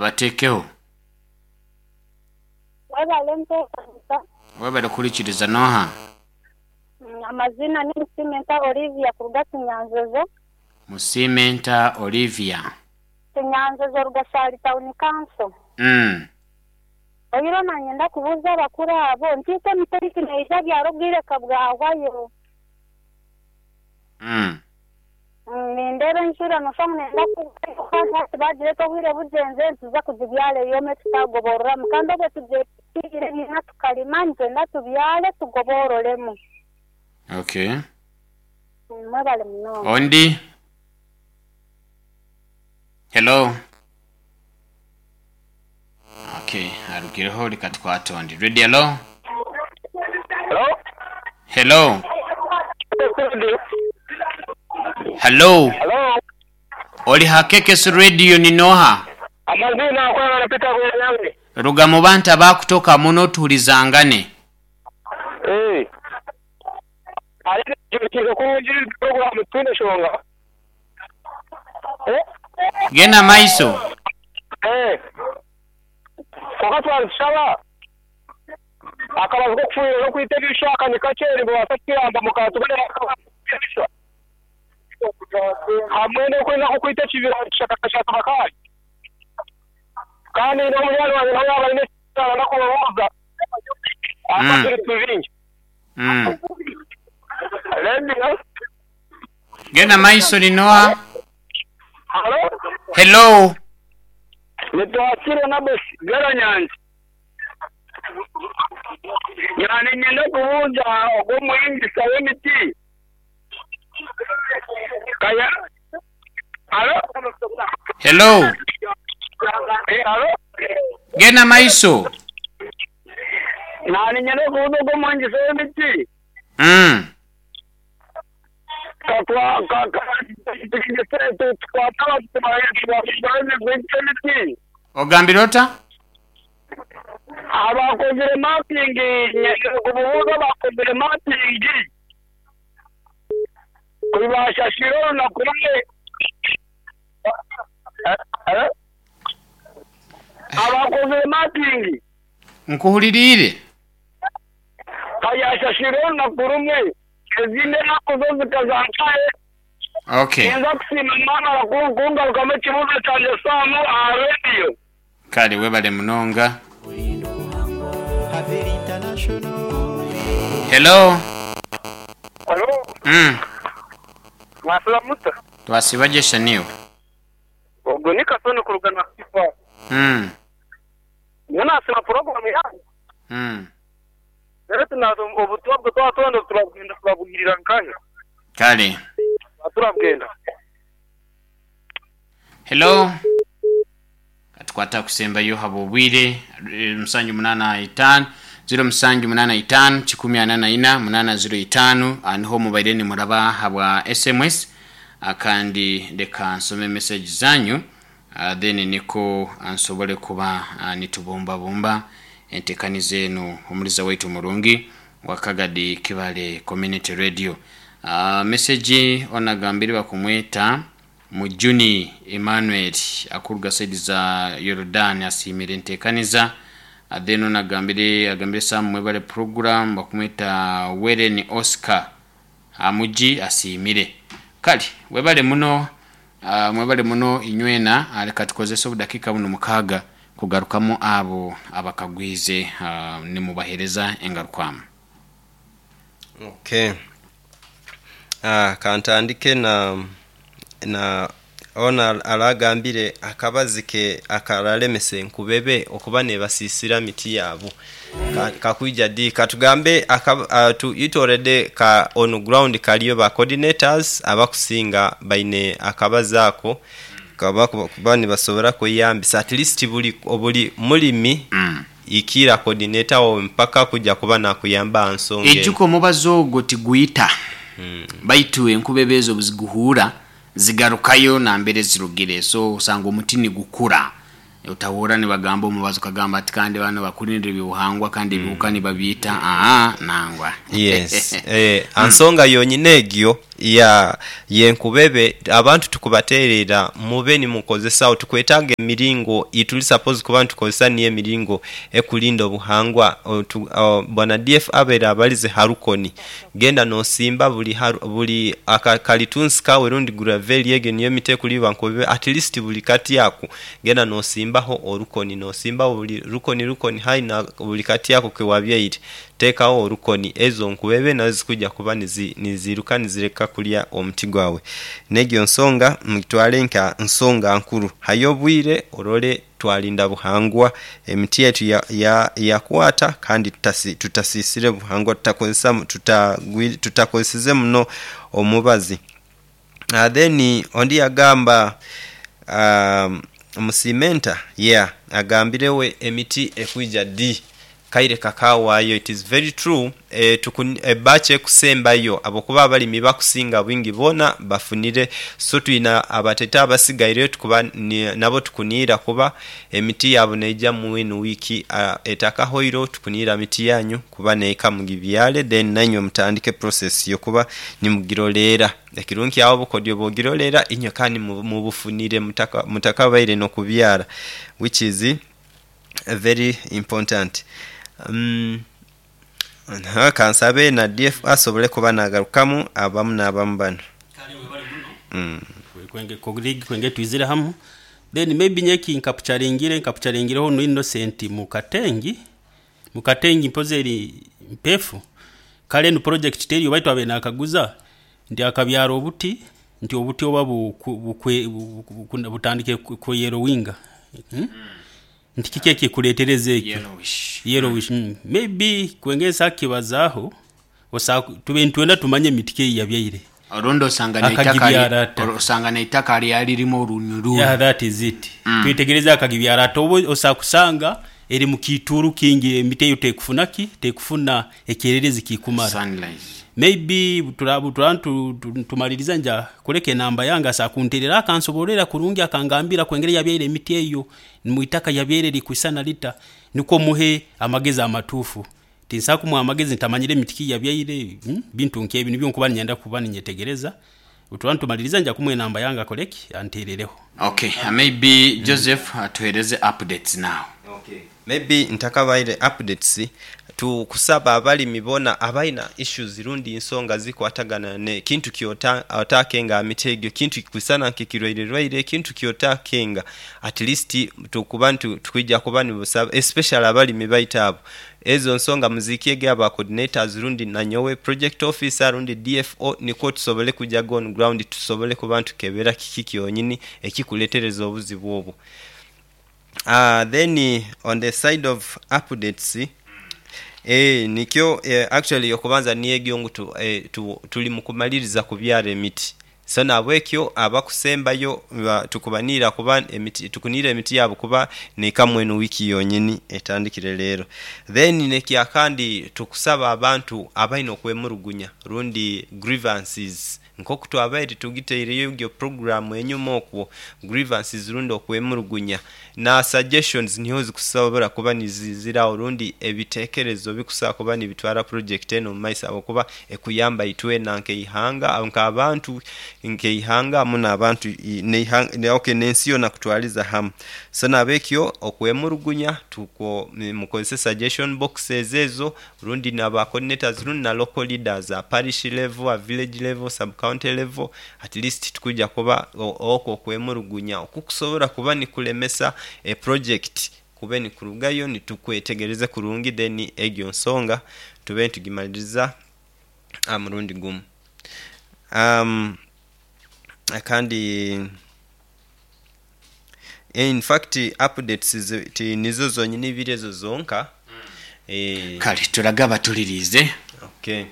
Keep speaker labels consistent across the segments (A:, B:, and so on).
A: Bateekeho.
B: Webale enteekanisa.
A: Webale kuhurikiriza. N'oha?
B: Amaziina ni Musimenta Olivia kuruga Kinyanjojo.
A: Musimenta Olivia.
B: Kinyanjojo Rugashari Town Council. Oihireho nanyenda kubuuza abakuru abo nti itwe emiti ei tuneija byara obwire ka bwahwayo? Nindeeba enjura noshusha ngu neyenda kugwa kandi hati baagira eti obwire bugyenzire nituza kugibyara eyome tutagobororamu kandi obwo tugyetiire ebiina tukarima nitwenda tubyare tugobororemu.
A: Okay.
B: Mwebale munonga.
A: Ondi? Hello? Okay, arugireho reka tukwate ondi. Radio hello?
C: Hello?
A: Hello? Hello?
C: Hello?
A: Oli ha KKS Radio ni noha?
C: Amaziina Nkwagala Peter Bwenyange.
A: Ruga mu bantu abakutoka muno tuhurizangane.
C: Eh. Aye ekyo kurungi puroguramu tihaine nshonga.
A: Genda maiso.
C: Kwonka twaba nitushaba akabazu k'okufuhirira n'okwita ebishaka ni kakye nibabaasa kutuyamba mukatubonera akabazu k'okwita ebishwa hamwe n'okwenda nk'okwita ekibira kishaka bakaaya. Kandi n'omunywani wangye nawe yaaba aine eki arenda kubabuuza ahabw'okuba turi bingi. Radio.
A: Genda maiso ni Noah.
C: Halo.
A: Hello.
C: Nitwakire Nabosi Bweranyangi. Naba niinyenda kubuuza ogwo omuhingisa w'emiti. Kaya. Halo.
A: Hello.
C: Halo.
A: Genda maiso.
C: Naba niinyenda kubuuza ogwo omuhingisa w'emiti.
A: Ogambire ota?
C: Abakozire mapping nyenzire kububuuza abakozire mapping kubashashwire orunaku rumwe abakozire mapping.
A: Nkuhuririire.
C: Ka yaashashwire orunaku rumwe, ezindi enaku zo zikaza nkahe?
A: Okay.
C: Ninza kusiima mwamara kungarukamu ekibuuzo kyangye Sam aha rediyo.
A: Kare webale munonga. Hello.
C: Halo. Mwasiba muta?
A: Twasiba gye sha niiwe?
C: Ogwo ni Kasoni kuruga Nakivale. Nyowe naasiima puroguraamu yaanyu. Reero tunaaza obutumwa bwe twaba twenda turabwenda turabwirira nkahi?
A: Kare.
C: Twaba turabwenda.
A: Hello. Katukwate akusembayo habw'obwire musanju munaana itaano ziro musanju munaana itaano kikumi ana na ina munaana ziro itaano aha niho mubaire nimuraba habwa sms kandi leka nsome message zanyu then nikwo nsobole kuba nitubumbabumba entekaniza enu omuliza waitu omurungi wa Kagadi Kibale Community Radio. Message onu agambire bakumweta Mujuni Emmanuel akuruga saidi za Yorodani asiimire entekaniza. Then onu agambire agambire Sam mwebale program bakumweta Weren Oscar Amugi asiimire. Kale webale muno mwebale muno inywena. Leka tukozese obudakiika bunu mukaaga kugarukamu abo abakagwize nimubahereza engarukwamu.
D: Okay. Ah, kantandike na na ono aragambire akabazi ke akaralemesa enkubebe okuba nebasisira miti yabu. Ka, kakwija di? Katugambe aka, uh, tu, it already ka on ground kaliyo ba coordinators abakusinga baine akabazi ako kaba kuba nibasobora kweyambisa at least buli buli mulimi ikiira coordinator wo mpaka kuja kuba nakuyamba aha nsonga eno.
A: Ijuka omubazi ogwo tigwita, baitu enkubebe ezo obuziguhuura zigarukayo nambere zirugire, so osanga omuti nigukura. Otahuura nibagamba omubazi okagamba ati kandi banu bakurindira eby'obuhangwa kandi ebihuka nibabiita, aa nangwa.
D: Yes, eh, aha nsonga yonyine egyo. Ya yenkubebe abantu tukubaterera mube nimukozesa tukwetaaga emiringo ituli suppose kuba nitukozesa niyo emiringo ekulinda obuhangwa. Bwana DF abaire abalize harukoni genda nosimba buli buli akakalitunsi kawe rundi graveli egyo niyo emiti ekuliibwa nkubebe at least buli kati ako genda nosimbaho orukoni nosimbaho buli rukoni rukoni haihi na buli kati ako kewabyaire. Teekaho orukoni, ezo nkubebe nazo zikwija kuba niziiruka nizireka kulya omuti gwawe. N'egyo nsonga mugitwale nka nsonga nkuru. Hayo obwire orole twalinda buhangwa, emiti yaitu yakwata kandi tutasiisire buhangwa, tutakozesize muno omubazi. Then ondi yagamba Musiimenta, yeah, agambire we emiti ekwija di? Kaire kakawaayo it is very true ebatch ekusembayo habwokuba abalimi bakusinga bwingi boona bafunire so twina abatete abasigaireyo tukuba nabo tukuniira kuba emiti yaabo neija mu eno wiiki etakahoireho tukuniira miti yanyu kuba neika mugibyale then nainywe mutandike process yokuba nimugiroleera. Ekirungi agho obukodyo bwogiroleera inywe kandi mubufunire mutakabaire nokubyala which is very important. Kansabe na DF asobole kuba nagarukamu abamu nabamu bano.
E: Kale webale muno kwenge twizire hamu then maybe nyowe ekinkapucharingire nkapucharingireho onu Innocent Mukatengi, Mukatengi mpozi eri mpefu kale enu project teriyo baitu abaire nakaguza nti akabyara obuti nti obuti oba butandikire kuyelowinga nti kiki ekikuretereza ekyo
A: Yellowish.
E: Yellowish maybe kwenge nsa kukibazaaho osa tube nitwenda tumanye emiti ki ei yabyaire
A: Orundi osanga n'eitaka
E: Akagibyara ata?
A: osanga n'eitaka lyali lirimu orunyururu.
E: Yeah, that is it. Twetegereze akagibyara ata oba osobola kusanga eri mu kiituuru kingi emiti eyo tekufuna ki? Tekufuna ekyererezi kikumara.
A: Sunlight.
E: Maybe bwe turaba nitumaliriza nja kuleka enamba yange asobola kunterera akansobororera kurungi akangambira ku engeri yabyaire emiti eyo, mu itaka yabyaire rikwisana rita nikwo muhe amagezi amatuufu. Tinsobola kumuha amagezi ntamanyire miti ki yabyaire, bintu nk'ebyo nibyo nkuba niinyenda kuba ninyetegereza. Obu turaba nitumaliriza nja kumuha enamba yange akore ki? Anteerereho.
A: Okay, maybe Joseph atuhereze updates now.
D: Okay. Maybe ntakabaire updates, tukusaba abalimi bona abalina issues rundi nsonga zikwatagana ne kintu kyota otakenga miti egyo kintu kikwisana nke kirwaire rwaire kintu kyotakenga at least tukuba nti tukwija kuba nibusaba especially abalimi baitu abo ezo nsonga muzikyege aba coordinators rundi nanyowe project officer rundi DFO nikwo tusobole kujaga on ground tusobole kuba ntukebera kiki kyonyini ekikuletereza obuzibu obwo. Then on the side of updates, eeh nikyo actually okubanza niyo ngu tuli mukumaliriza kubyara emiti so nahabwekyo abakusembayo tukubaniira kuba emiti tukuniire emiti yaabo kuba neikamu eno wiiki yonyini etandikire leero. Then nekyakandi tukusaba abantu abalina okwemurugunya rundi grievances Nk'oku twabaire tugitaireyo egyo puroguraamu enyuma okwo, grievances rundi okwemurugunya na suggestions niho zikusobora kuba niziziraho rundi ebitekerezo bikusobola kuba nibitwara purojekiti enu omu maiso ahabw'okuba ekuyamba itwena nk'eihanga, nk'abantu, nk'eihanga hamu n'abantu ok n'ensi yoona kutwariza hamu. So nahabwekyo okwemurugunya tukwo mukozese suggestion boxes ezo rundi na ba coordinators rundi na local leaders a parish level, a village level, sub county level at least tikwija kuba okwo okwemurugunya okukusobora kuba nikulemesa e project kube nikurugayo nitukwetegereze kurungi then egyo nsonga tube nitugimaliriza aha murundi gumu. Kandi In fact updates ti nizo zonyini ibiri ezo zonka.
A: Kale tulage abatuliriize.
D: Okay.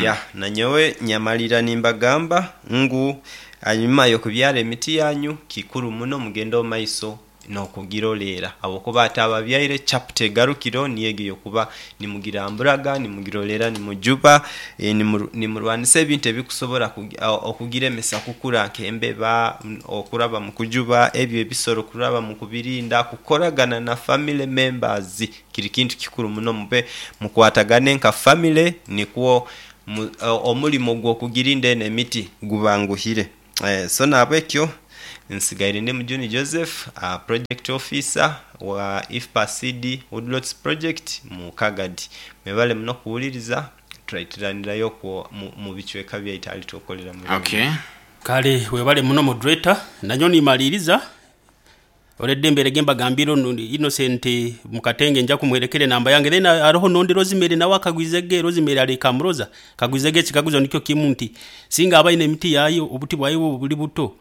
D: Yeah, nanyowe nyamalira nimbagamba ngu hanyuma y'okubyara emiti yanyu, kikuru muno mugende omu maiso n'okugiroleera habwokuba ate ababyaire chapter egarukireho niyo egyo ey'okuba nimugiramburaga, nimugiroleera, nimujuba, nimurwanisa ebintu ebikusobora okugiremesa kukura nk'embeba, okuraba mu kujuba ebyo ebisolo kuraba mu kubirinda, kukoragana na family members kiri kintu kikuru muno mube mukwatagane nka family nikwo. Omurimo gw'okugirinda eno emiti gubanguhire. So nahabwekyo nsigaire ndi Mujuni Joseph, Project Officer wa IFPA Seed Woodlots Project mu Kagadi. Mwebale muno kuwuliriza, turaitiranirayo okwo mu bicweka byaitu ahali twokorera murimo.
A: Okay.
E: Kale webale muno moderator, nanyowe nimaliiriza already mbairege mbagambire onu Innocent Mukatenge nja kumuherekera enamba yange then haroho nondi Rosemary nawe akagwizege, Rosemary ari Kamuroza akagwizege ekikaguzo nikyo kimu nti singa aba aine emiti yaye obuti bwaye buri buto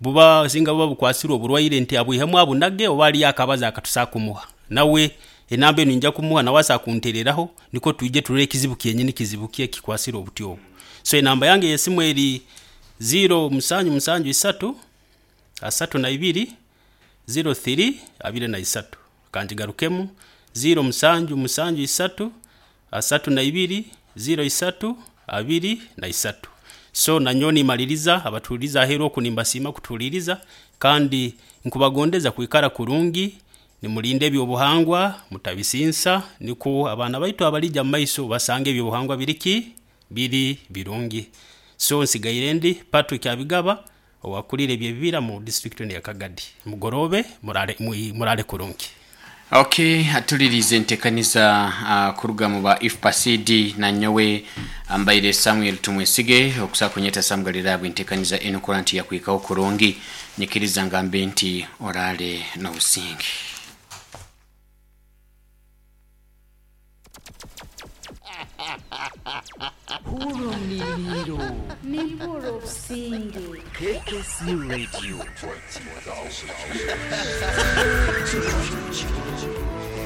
E: buba singa buba bukwasirwe oburwaire nti abwihemu abunage oba hariyo akabazi akatusobola kumuha nawe enamba enu ninja kumuha nawe asobola kuntereraho nikwo twije turore ekizibu kyenyini kizibu ki ekikwasire obuti obu. So enamba yange ey'esimu eri ziiro musanju musanju isatu, asatu na ibiri, ziiro thiri, abiri na isatu. Kangigarukemu, ziiro musanju musanju isatu, asatu na ibiri, ziiro isatu, abiri na isatu. So nanyowe nimaliriza abatuhuririza aheeru oku nimbasiima kutuhuririza kandi nkubagondeza kwikara kurungi, nimurinda eby'obuhangwa, mutabisinsa nikwo abaana baitu abarija omu maiso basange eby'obuhangwa biri ki? Biri birungi. So nsigaire ndi Patrick Abigaba owakurire eby'ebibira mu disiturikiti enu eya Kagadi. Mugoroobe muraare muraare kurungi.
A: Ok, atuliriize entekaniza kuruga mu ba IFPA CD na nyowe mbaire Samuel Tumwesige okusa kunyeta Sam Galilaya bw'entekaniza enu kurora nti yakwikaho kurungi. Nyikiriza ngambe nti oraale n'obusinge.
F: Hurra omu
G: Nimpurra obusinge.
F: KKC Radio.